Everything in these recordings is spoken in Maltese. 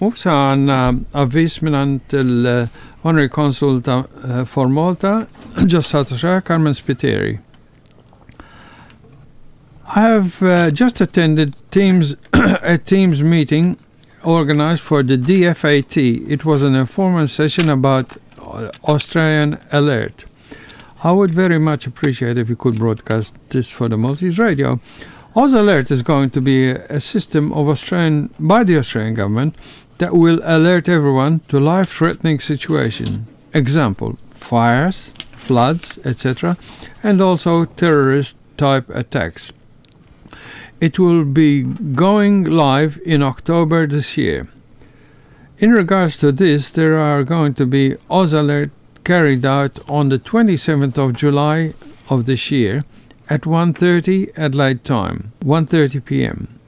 U sa għandna avviż mingħand il-Honorary Consul ta' eh, for Malta, ġo Carmen Spiteri. I have uh, just attended Teams a Teams meeting organized for the DFAT. It was an informal session about uh, Australian Alert. I would very much appreciate if you could broadcast this for the Maltese radio. Oz Alert is going to be a system of Australian by the Australian government that will alert everyone to life-threatening situation. Example: fires, floods, etc., and also terrorist type attacks. It will be going live in October this year. In regards to this, there are going to be Oz Alert carried out on the 27th of July of this year at 1.30 Adelaide time, 1.30 p.m.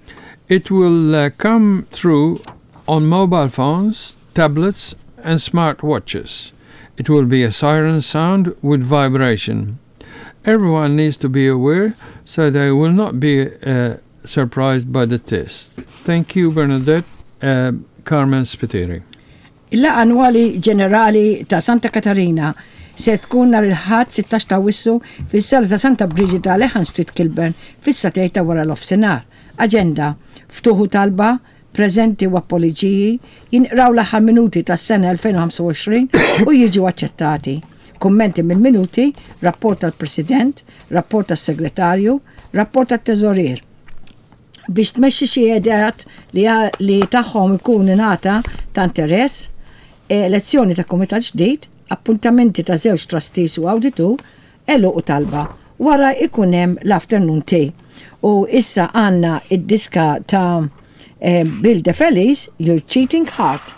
It will uh, come through on mobile phones, tablets and smartwatches. It will be a siren sound with vibration. Everyone needs to be aware so they will not be uh, surprised by the test. Thank you, Bernadette. Uh, Carmen Spiteri. Il-laqgħa annwali ġenerali ta' Santa Katarina se tkun nhar il-Ħadd 16 ta' Awwissu fis-Sala ta' Santa Briġida, Lehan Street, Kilburn, fis-sagħtejn ta' wara nofsinhar. Aġenda, Ftuħ u talba, preżenti u appoliġiji, jinqraw l-aħħar minuti tas-sena 2025 u jiġu aċċettati. Kummenti mill-minuti, rapport tal-President, rapport tas-Segretarju, rapport tat-Teżorier. Biex tmexxi xi ideat li, li tagħhom ikun ingħata ta' interess, elezzjoni ta' kumitat ġdid, appuntamenti ta' żewġ trustees u awditur, għeluq u talba. Wara ikun hemm l-afternoon tea. U issa għandna id-diska ta' eh, Bill De Felice, Your Cheating Heart.